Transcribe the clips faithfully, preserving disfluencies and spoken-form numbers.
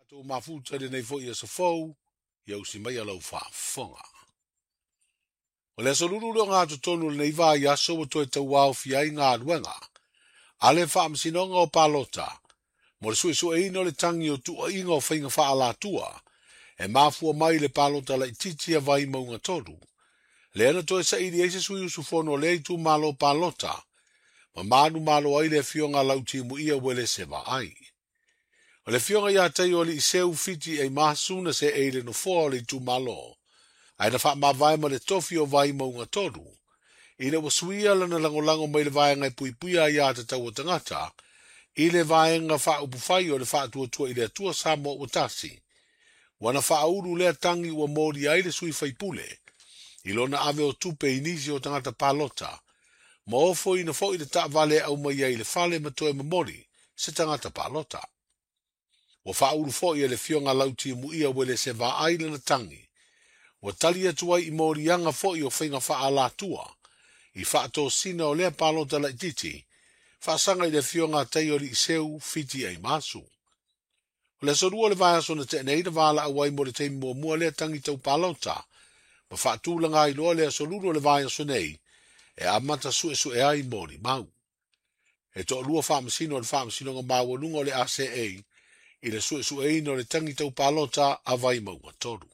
Tatou mafuta i lenei foi aso fou, ia usi mai lau faafofoga. O le aso lulu le ogatotonu o lenei vaiaso ua toe tauaofia ai galuega a le Faamasinoga o Palota mo le suesueina o le tagi o tuuaiga o faiga faaalatua e mafua mai le palota laitiiti a Vaimauga tolu. Lea na toe saili ai se sui usufono o lea itumalo palota ma manumalo ai le afioga a Lautimuia Uelese Vaai. O le afioga ia Taioalii Seu Fiti Eimasu na seei le nofoa o le itumalo, ae na faamavae ma le tofi o Vaimauga tolu, ina ua suia lana lagolago mai le vaega e puipuia aiā tatau a tagata i le vaega faaupufai o le Faatuatua i le Atua Samoa ua tasi. Ua na faaulu lea tagi ua molia ai le sui faipule i lona ave o tupe i nisi o tagata palota, ma ofoina foi le taavale e aumai ai i le fale ma toe momoli se tagata palota. Ua faaulu foi e le afioga Lautimuia Uelese Vaai lana tagi, ua tali atu ai i moliaga foi o faiga faaalatua i faatosina o lea palota laitiiti, faasaga i le afioga a Taioalii Seu Fiti Eimasu. O le aso lua o le vaiaso na tea nei na valaau ai mo le taimi muamua lea tagi tau palota, ma faatulaga ai loa le aso lulu o le vaiaso nei e amata suesue ai molimau. E toalua faamasino o le Faamasinoga Maualuga o le A C A i le suesueina o le tagi tau palota a Vaimauga tolu.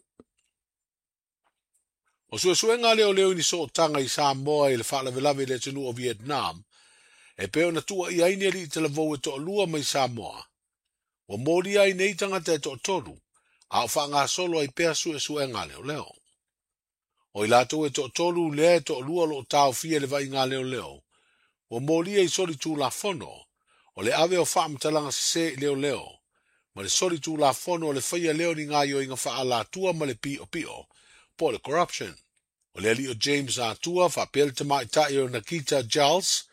O suesuega a leoleo i ni sootaga i Samoa i le faalavelave i le atunuu o Vietnam, e pei ona tuuaia ai ni alii talavou e toalua mai Samoa. Ua molia ai nei tagata e toatolu, a o faagasolo ai pea suesuega a leoleo. O i latou e toatolu lea e toalua o loo taofia i le vaaiga a leoleo, ua molia i soli tulafono o le ave o faamatalaga sese i leoleo, ma le soli tulafono o le faia lea o ni gaoioiga faaalatua ma le piopio, po o le corruption. O le alii o James Atua faapea le tamaitai o Nakita Giles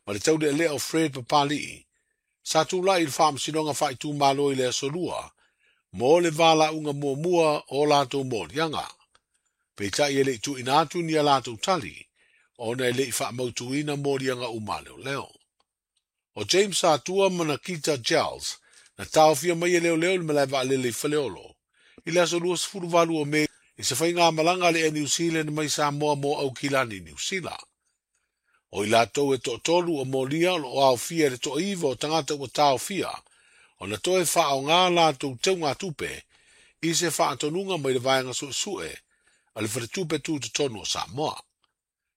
ma le taulealea o Fred Papali'i, sa tulai i le Faamasinoga Faaitumalo i le aso lua mo le valaauga muamua o latou moliaga. Peitai e le i tuuina atu ni a latou tali, ona e le i faamautuina moliaga uma a leoleo. O James Atua ma Nakita Giles na taofia mai e leoleo i le malae vaalele i Faleolo i le aso luasefuluvalu o Me i se faigamalaga a le Air New Zealand mai Samoa mo Aukilani Niu Sila. O i latou e toatolu o molia o loo aofia i le toaiva o tagata ua taofia, ona toe faaaoga latou teugatupe i se faatonuga mai le vaega suesue a le faletupe tutotonu o Samoa.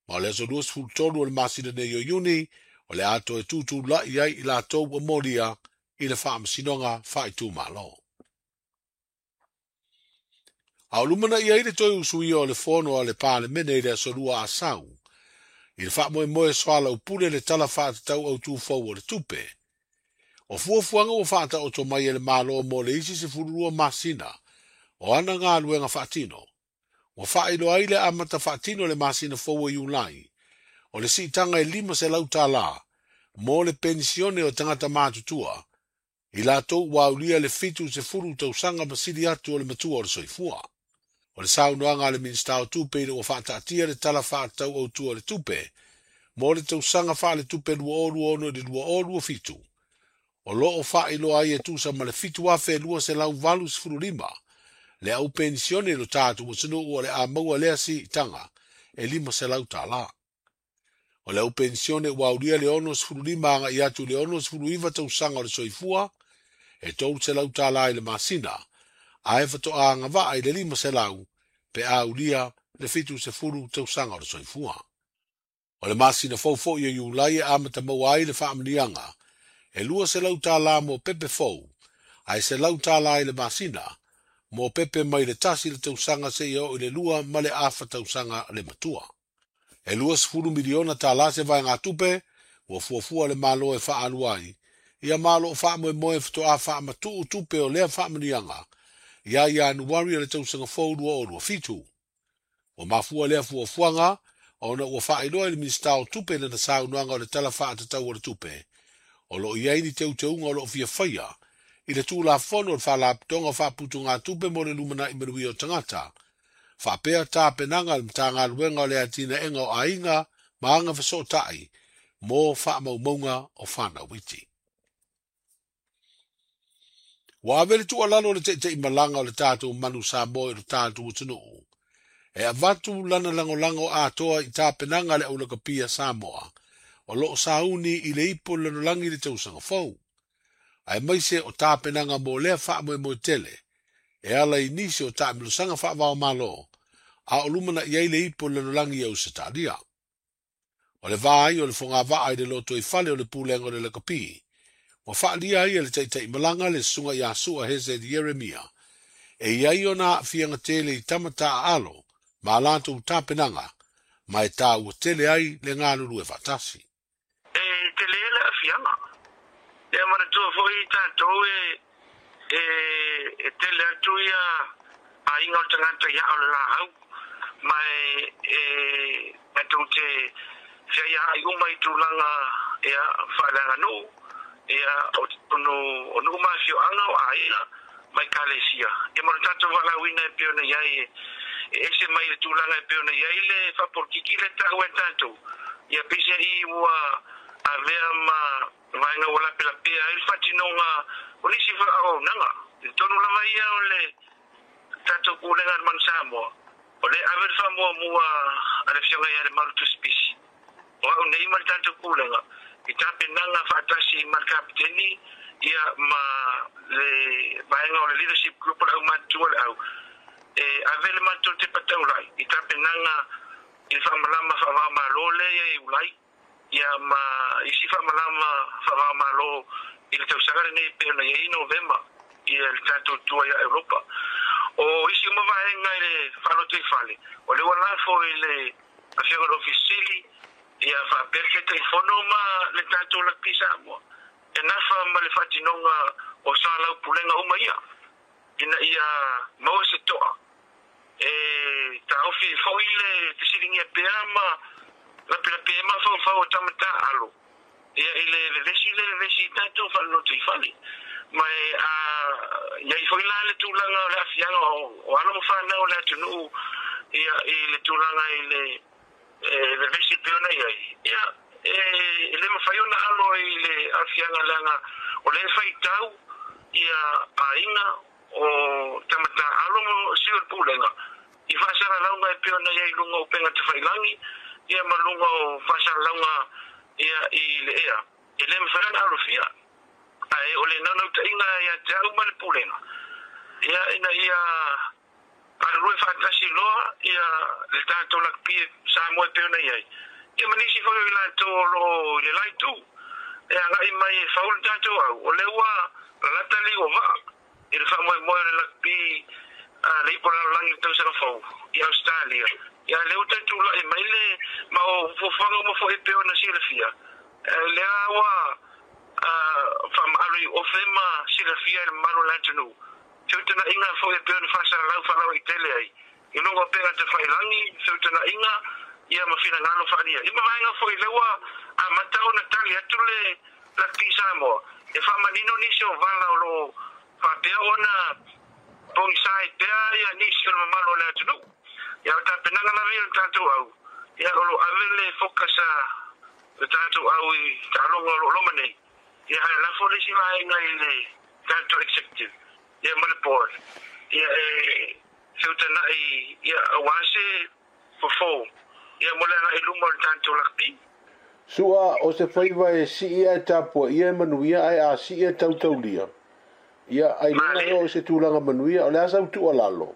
Ma o le aso luasefulutolu o le masina nei o Iuni, o le a toe tutulai ai i latou ua molia i le Faamasinoga Faaitumalo. A o lumanai ai le toe usuia o le fono a le Palemene i le aso lua Asau, i le faamoemoe soalaupule le tala faatatau autū fou o le tupe. O fuafuaga ua faataoto mai e le Malo mo le isi sefululua masina o ana galuega faatino. Ua faailoa ai le amata faatino le masina fou o Iulai, o le siitaga e lima selau tālā mo le penisione o tagata matutua, i latou ua aulia le fitu sefulu tausaga ma sili atu o le matua o le soifua. O le saunoaga a le Minisita o Tupe ina ua faataatia le tala faatatau autū o le tupe mo le tausaga faaletupe lua o lua ono i le lua o lua fitu. O loo faailoa ai e tusa ma le fitu afe lua selau valu sefulu lima le au penisione i lo tatou atunuu o le a maua lea siitaga e lima selau tālā. O le au penisione ua aulia le ono sefulu lima agai atu i le ono sefulu iva tausaga o le soifua e tolu selau tālā i le masina, ae faatoa agavaa i le lima selau pe aulia le fitu sefulu tausaga o le soifua. O le masina fou foi o Iulai e amata maua ai le faamanuiaga e lua selau tālā mo pepe fou, ae selau tālā i le masina mo pepe mai le tasi le tausaga seia oo i le lua ma le afa tausaga le matua. E lua sefulu miliona tālā se vaegatupe ua fuafua le Malo e faalua ai, ia ma o loo faamoemoe faatoa faamatuu tupe o lea faamanuiaga ia Ianuari o le tausaga fou lua o lua fitu. Ua mafua lea fuafuaga ona ua faailoa i le Minisita o Tupe lana saunoaga o le tala faatatau o le tupe, o loo i ai ni teuteuga o loo fia faia i le Tulafono o le Faalapotopotoga o Faaputugatupe mo le Lumanai Manuia o Tagata, faapea tapenaga a le Matagaluega o le Atinaega o Aiga ma Aga Fesootai mo faamaumauga o fanau iti. Ua ave le tuualalo le taitaimalaga o le tatou manu Samoa i lo tatou atunuu. E avatu lana lagolago atoa i tapenaga le aulakapia Samoa, o loo sauni i le ipo le lalolagi le tausaga fou. Ae maise o tapenaga mo lea faamoemoe tele, e ala i nisi o taamilosaga faavaomalo, a o lumanaʻi ai le ipo le lalolagi i Ausetalia. O le vā ai o le fogavaa i le loto i fale o le pulega o le lakapi, ua faalia ai e le taitaimalaga le susuga ia Sua Hesed Ieremia, e iai ona aafiaga tele i tama taaalo ma a latou tapenaga, ma e tāua tele ai le galulue faatasi. E tele le aafiaga. Ia manatua foi tatou e e e tele atu ia aiga o le tagata ia o le laau ma e e tatou te feaiaai uma i tulaga ia faaleaganuu ia o totonu o nuu ma afioaga o aiga ma ekalesia. Ia ma le tatou valaauina e pei ona i ai e ese mai le tulaga e pei ona i ai le faapolokiki le taua e tatou. Ia peiseai ua avea ma vaega ua lapelapea ai le faatinoga o nisi auaunaga. I totonu lava ia o le tatou pulega a le Manu Samoa, o le ave le faamuamua a le afioga ia Lemalu Tusipisi. O au nei ma le tatou pulega i tapenaga faatasi ma le kapiteni ia ma le vaega o le leadership group o le aumatutua le au e ave le matou tepa taulai i tapenaga i le faamalama faavaomalo lea ia i Iulai ia ma isi faamalama faavaomalo i le tausaga lenei e pei ona i ai Novema ia le tatou tua ia Europa. O isi uma vaega i le faalotoifale o le ua lafo i le afioga i le Ofisa Sili ia faapea le Taitaifono ma le tatou Lakapi Samoa e nafa ma le faatinoga o salaupulega uma ia ina ia maua se toa e taofi foi le fesiligia pea ma lapelapea ai mafaufau o tama taaalo ia i le vevesi le vevesi i tatou faalotoifale. Ma e a iai foi la le tulaga o le aafiaga o alo ma fanau o le atunuu ia i le tulaga i le e vevesi pei ona i ai ia e le mafai ona alo i le aafiaga leaga o lea e faitau ia aiga o tama taaalo ma sui o le pulega i faasalalauga e pei ona i ai i luga o upega tafailagi ia ma luga o faasalalauga ia i le ea e le mafai ona alofia. Ae o le naunautaiga ia te au ma le pulega ia ina ia galulue faatasi loa ia le tatou lakapi Samoa e pei ona i ai ia ma nisi foi o i latou o loo i le laitu e agai mai e fau le tatou au o lea ua lalata liu o vaa i le faamoemoe o le lakapi a le ipo lalolagi le tausaga fou i Australia. Ia lea ua taitulai mai le ma o fuafuaga uma foi e pei ona silafia lea ua faamaalo i ofe ma silafia i le mamalu o le atunuu. Feutanaiga foi e pei ona faasalalau faalauaitele ai i luga o pega tafailagi feutanaiga ia ma finagalo faaalia. Ia ma vaega foi lea ua amata ona tali atu le Lakapi Samoa e faamanino nisi o vala o loo faapea ona pogisa ai pea ia nisi o le mamalu o le atunuu. Ia o tapenaga lava ia o le tatou au ia o loo ave le focus a le tatou au i taaloga o loo loma nei. Ia ae lafo le isi vaega i le tatou executive ia ma le board ia e feutanai ia aua se fofo ia mo le agai luma o le tatou lakapi. Sua o se faiva e sii ae tapuaia e manuia ae a sii e tautaulia. Ia ailoga ea o se tulaga manuia o le a sau tuualalo.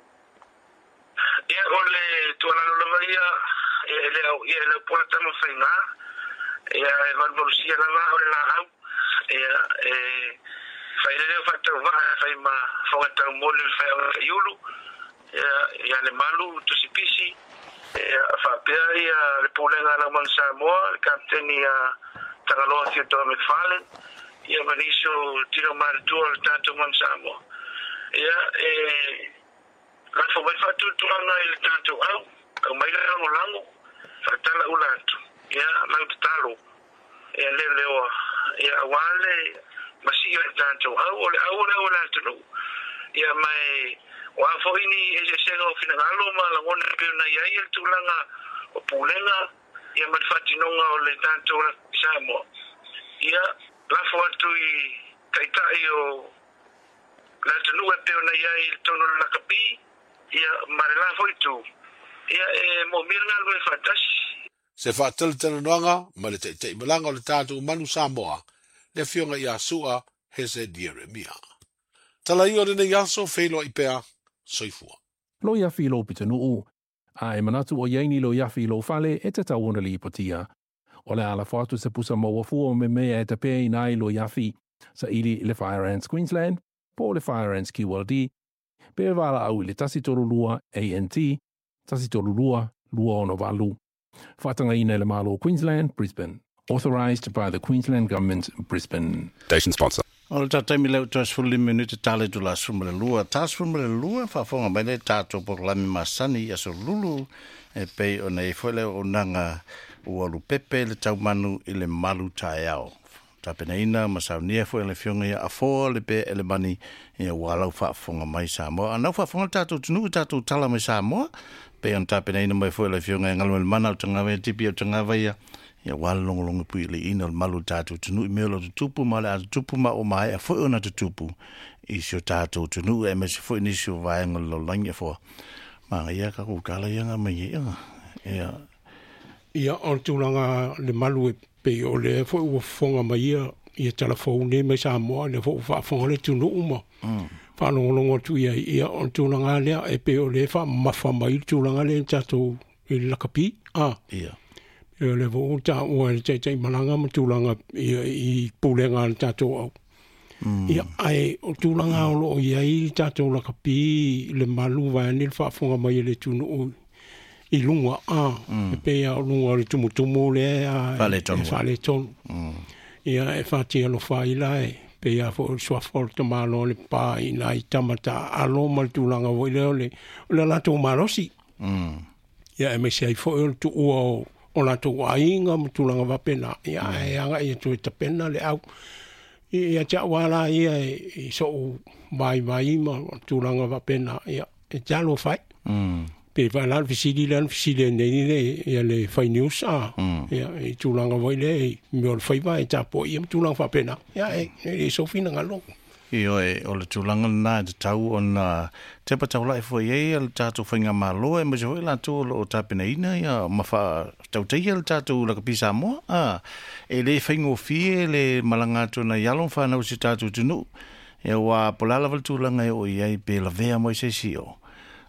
Ia o le tuualalo lava ia e le au ia e le au pola tama faiga ia e valuvalusia lava o le laau ia e failele o faatauvaa fai ma fogatau moli o le faiaoga taiulu ia ia le malu tusipisi ia faapea ia le pulega a lau Samoa le kapiteni ia Tagaloa Theodore McFarlane ia ma nisi o tino matutua o le tatou Manu Samoa ia e lafo mai faatuatuaga i le tatou au aumai le lagolago faatala ula atu ia lau tatalo ia leoleoa ia aua le masii o le tatou au o le au o le au o le atunuu ia ma e o a foi ni eseesega o finagalo ma lagona e pei ona i ai le tulaga o pulega ia ma le faatinoga o le tatou Samoa ia lafo atu i taitai o Le atunuu e pei ona i ai i totonu o le lakapi ia ma le la foi itu ia e moomia le galulue faatasi. Se faatalatalanoaga ma le taitaimalaga o le tatou manu Samoa, le afioga ia Su'a Hese Ieremia. Tala ia o lenei aso feiloai pea, soifua. Lo iafi lo pitanuu, a e manatu o iaini lo iafi lo fale e te tau ona lipotia. O le ala fatu se pusa maua fua me mea e te pē inai lo iafi sa ili le Fire Ants Queensland, po le Fire Ants Q L D, pe vala au i le tasi tolu lua A N T, tasi tolu lua, lua ono valu. Whaatanga ina le malo Queensland, Brisbane. Authorised by the Queensland Government, Brisbane. Station sponsor. O le tataimi leo toas fuli minute tale tu la suma le lua. Tas fuma le lua, whaafonga mai le tātou porlami masani aso lulu e pei o nei foi leo o nanga ua lupepe le taumanu i le malu taeao. Tapenaina masaunia foi le fionga ia afoa le pe ele mani ia ua lau whaafonga mai Samoa. Anau whaafonga tātou tunu tātou tala mai Samoa. Pe on tapenaina mai foi le fionga ia ngalu mana o tangawa ia tipi o tangawa ia. Ia wala longo longo pui le ina o le malu tātou tunu i mea lo tutupu ma le a tutupu ma o mai a foi ona tutupu i sio tātou tunu e mese foi nisi o vaenga lo langi a foa. Maa ia ka kukala ia ngā mai ia. Ia. Ia o le tulaga le malu e pei o le foi ua fofoga mai ia ia talafou nei mai Samoa le foi faafofoga le atunuu ma faalogologo atu ia ia o le tulaga lea e pei o le faamamafa mai le tulaga lea tatou i le lakapi a. Ia. E le foi taua e le taitaimalaga ma tulaga ia i pulega a le tatou au. Ia ae o tulaga o loo i ai tatou lakapi le malu vaeane le faafofoga mai e le atunuu i lunga a e pei a o lunga o le tumutumu lea e faaletonu. Ia e faatialofa ai la e pei a foi o le suafa o le tamalo o le pā i nai tamata alo ma le tulaga foi lea o le o le latou malosi. Ia e maise ai foi o le tuua o o latou aiga ma tulaga faapena. Ia e agai atu e tapena le au. Ia te au ala ia i sou vaivai ma tulaga faapena. Ia e talofa ai. Pe fa la fisili la fisili nei le ia le fai news a ia i tulaga foi le mea o le faiva e tapo ia ma tulaga faapena. Ia e e sofina ngalo. Io e o le tulaga lena e tatau ona tepa taulai foi ai le tatou faigamalo e maise foi latou o loo tapenaina ia ma faatautaia le tatou lakapi Samoa a e lē faigofie le malaga atu na i alo ma fanau i se tatou atunuu ia ua po le a lava le tulaga e oo i ai pe lavea mo i seisi o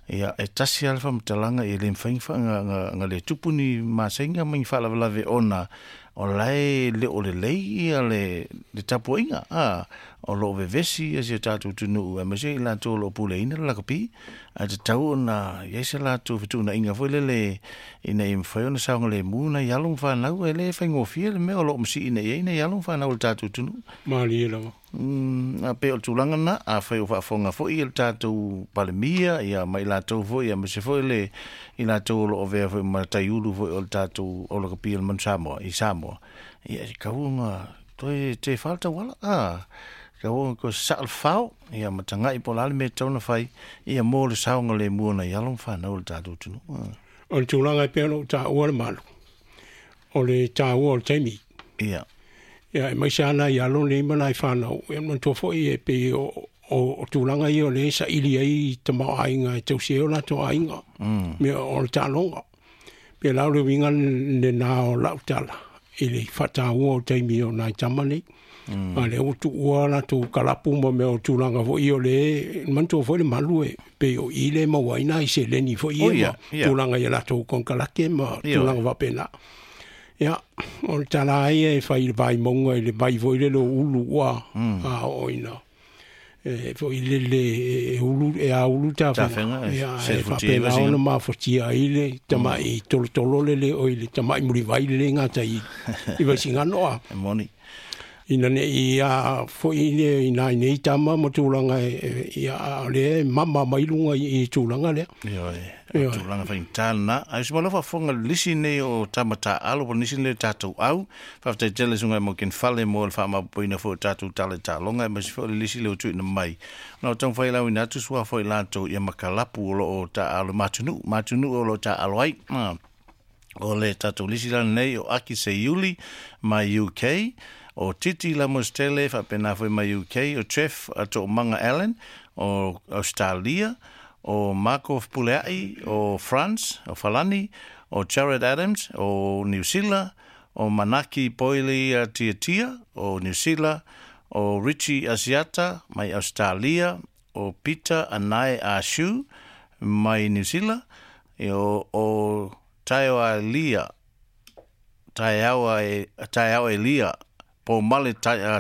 ia e tasi a le faamatalaga e lē mafai ga le tupu ni masaiga ma ni faalavelave ona o lae le o lelei ia le le tapuaiga a o loo vevesi ia si o tatou atunuu e maise i latou o loo puleina le lakapi ae tatau ona iai se latou fetuunaiga foi lele ina ia mafai ona saogalemu nai alo ma fanau e lē faigofie le mea o loo masiina i ai nai alo ma fanau o le tatou atunuu. Malie lava. Mm, a pe o le tulaga lena afai o faafofoga foi ia le tatou palemia ia ma i latou foi ia maise foi le i latou o loo avea foi ma taiulu foi o le tatou o lakapi o le manu Samoa i Samoa ia e kauga toe te fā le tauala a kauga ko sa le fao ia ma taga'i po o le a le mea tatau ona fai ia mo le saogalemu ona i alo ma fanau o le tatou atunuu. O le tulaga e pei ona ou taua le malu o le taua o le taimi. Ia. Ia e maise ana i alo nei ma nai whanau. Ia manatua foi e pei o o tulaga ia o le saili ai i tamaoaiga e tausia ai o latou aiga. Mea o le taaloga. Pe la o le uiga lenā o lau tala i le faataua o taimi o nai tama nei. A lea ua tuua latou kalapu ma mea o tulaga foi o le manatua foi le malu e pei o i le maua ai nai seleni foi ia ma tulaga ia latou konekarate ma tulaga faapena. Ia, o le tala ai e fai le vaimauga i le vai foi lele o ulu ua a oo ina e foi lele e ulu e a ulu tafega. Ia, e faapena ona mafatia ai le tama'i tolotolo lele o i le tama'i mulivai lele gata i i Vaisigano a. E moni. Ina ne'i a foi le i nai nei tama ma tulaga e ia o le mama mai luga i tulaga lea. Ioe, o tulaga faigata lena. Ae se malo faafofoga le lisi nei o tama taalo po o nisi nei o tatou au. Faafetai tele suga e mo Kenfale mo le faamapopoina foi o tatou tala i taaloga e maise foi o le lisi lea ua tuuina mai. Ona o taumafai lauina atu sua foi latou ia makalapu o loo taaalo matunuu, matunuu o loo taaalo ai. O le tatou lisi la lenei o Aki Seiuli mai U K. O Titi Lamostele faapena foi mai U K, o Jeff To'omaga Allen o Australia, o Marco Pulea'i o France, o Falani, o Jared Adams o New Zealand, o Manaki Poili Tiatia o New Zealand, o Richie Asiata mai Australia, o Peter Anae Ashu mai New Zealand, e o, o Taeo Elia, Taeo Taeo Elia po Male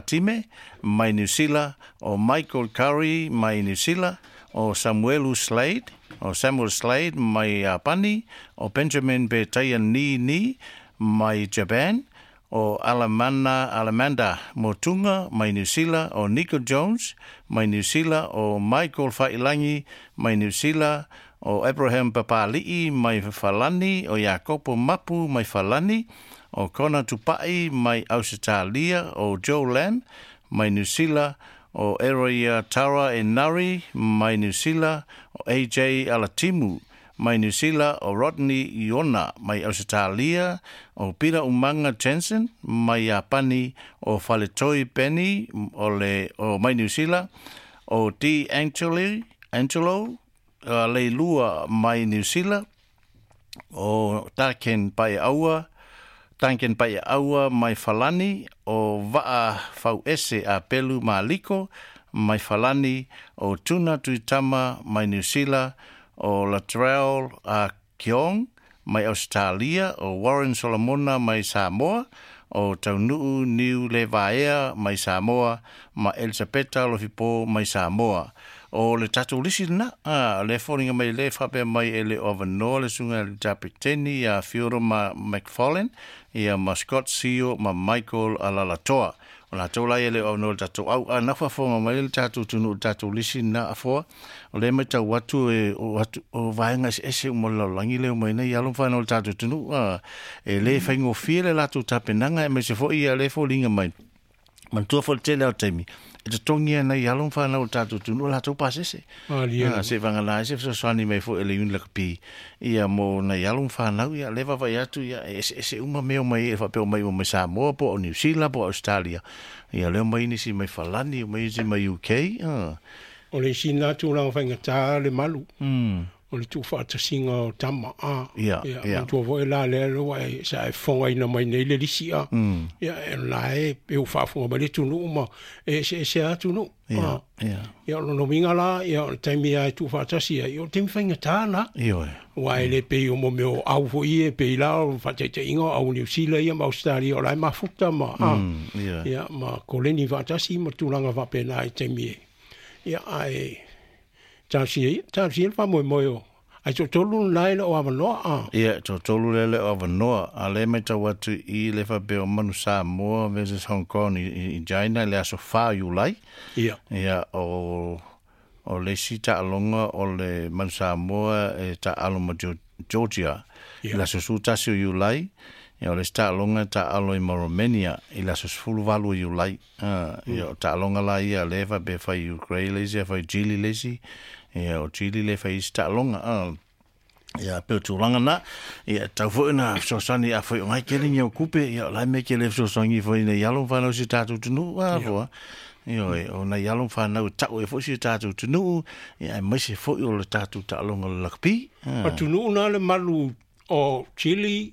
Time mai New Zealand, o Michael Curry mai New Zealand, o Samuelu Slade, o Samuel Slade mai Japani, o Benjamin Betaia Ni Ni mai Japan, o Alamana Alamanda Motunga mai New Zealand, o Nico Jones mai New Zealand, o Michael Failangi mai New Zealand, o Abraham Papali'i mai Falani, o Jacopo Mapu mai Falani, o Kona Tupai mai Australia, o Joe Lamb mai New Zealand, o Eroia Tara Enari mai New Zealand, o A J Alatimu mai New Zealand, o Rodney Iona mai Australia, o Peter Umanga Jensen mai Japani, o Faletoi Penny o le o mai New Zealand, o D Angelo Angelo uh, Leilua mai New Zealand, o Taken Pai Aua Duncan Pai Aua mai Falani, o Va'a Fauese a Pelu Maliko mai Falani, o Tuna Tuitama mai New Zealand, o Latrell a Kiong mai Australia, o Warren Solomona mai Samoa, o Taunu'u Niu Levaea mai Samoa, ma Elisapeta Lofipo mai Samoa. O le tatou lisi lena, a le foliga mai le faapea mai e le o avanoa le suga le tapeteni ia Fioro ma McFarlane, ia ma Scott Sio ma Michael Alalatoa. O latou lai e le o avanoa le tatou au a nafafoga mai le tatou tunu'u le tatou lisi lena afoa. O le matau atu e o atu o vaega eseese uma le lalolagi leo mai nei alo ma fanau le tatou tunu'u a e lē faigofie le latou tapenaga e maise fo'i ia le foliga mai. Manatua foi le tele ao taimi e totogi ana i alo ma fanau le tatou tunu'u latou pasese. Ah, se vagana ai se fesoasoani mai foi e le iuni lakapi ia mo nai alo ma fanau ia le vaavaai atu ia e eseese uma mea o mai e faapea o mai uma mai Samoa po o New Zealand po o Australia. Ia lea mai nisi mai Falani, mai nisi mai U K. Ah. O le isi na tulaga faigata le malu. Mm. O le tuufaatasiga o tama a. Ia, Ia, ia. manatua foi la lea le ua e sa e fogaina mai nei le lisi a. Mm. Ia, e la e e u faafoga mai le atunuu ma e eseese a atunuu. Ia, A. ia. Ia, o lona uiga la, ia, o le taimi a e tuufaatasi ai, o le taimi faigata na. Ioe. Ua e le pei o mo mea o au foi e pei la o faataitaiga o au New Zealand ia ma Australia o la e mafuta ma a. Mm, ia. Ia, ma koleni faatasi ma tulaga faapena i taimi e. Ia, ae talosia ia, talosia le faamoemoe o. Ai toatolu lena e le o avanoa a. Ia, toatolu lea le o avanoa. A le matau atu i le faapea o Manu Samoa versus Hong Kong i, i, i China i le aso whā Iulai. Ia. Ia, o, o le isi taaloga o le Manu Samoa e taalo ma Georgia. Ia. I le aso sefulu tasi o Iulai. Ia, o le isi taaloga e taalo i ma Romania i le aso sefulu valu o Iulai. Ah, ia, o taaloga la ia le faapea fai Ukraine le isi, fai Chile le isi. Ia, o Chile le fai isi taaloga. Ah, ia, pe o tulaga na, ia, tau foi na fesoasoani a foi o ngai kele ni au kupe, ia, o lai me kele fesoasoani foi nei alo ma fanau si tatou tunu'u, a, foa. Ioe, o nai alo ma fanau e ta'u e foi si tatou tunu'u, ia, aemaise foi o le tatou taaloga o le lakapi. Ah. Atunuu na le malu o Chile,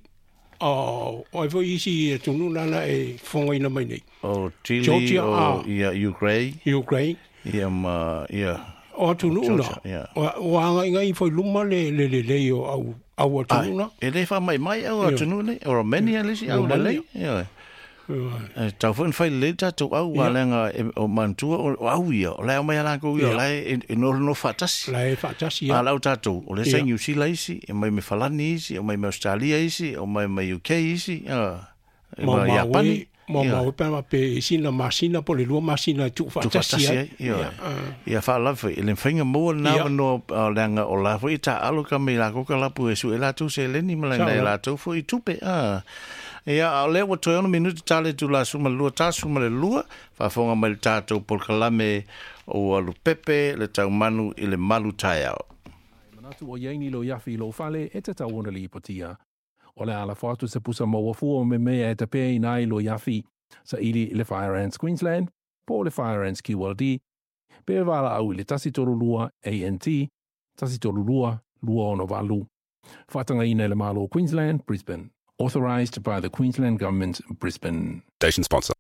o o ai foi isi atunuu nana e fogaina mai nei. O Chile, Georgia, o, a. ia, Ukraine. Ukraine. Ia, ma, ia, O atunuu na. Georgia, ia. O, o agaigai foi luma le le lelei o au au atunuu na. E le faamaimai au Ia. atunuu nei, o Romania le isi au Romania. lelei. Ioe. Ia. E tau foi na fai lelei tatou au, a Ia. leaga e- o manatua o o au ia, o lae aumai a lakou ia, o Ia. lae e, e nofonofo faatasi. La e faatasi A ia. lau tatou, o le sa Ia. New Zealand isi, e mai me Falani isi, e mai me Australia isi, o mai me U K isi, a, e Ma ma ma Japani. we ma Ia. ma we pa pe isi na masina po le lua masina e tuufaatasi Tuufaatasi ai. ai, ioe. Ia. Ah. Ia faalava foi, e le mafaiga maua lena Ia. avanoa, a leaga o la foi taalo ka mai lakou ka lapu e suʻe latou seleni ma Sao laina e la. latou foi tupe. Ah. Ia, a o lea ua toe ono minuti tale tu la suma le lua tasu ma le lua, faafofoga mai le tatou polokalame o alupepe le taumanu i le malu taeao. Manatu o iaini lo iafi lo fale e te tau ona lipotia. O le ala fo atu se pusa maua fua o me mea e tapea ina ai lo iafi. Saili i le Fire Ants Queensland po o le Fire Ants Q L D pe valaau i le tasi tolu lua A N T tasi tolu lua lua ono valu. Faatagaina e le Malo Queensland, Brisbane. Authorised by the Queensland Government, Brisbane. Station sponsor.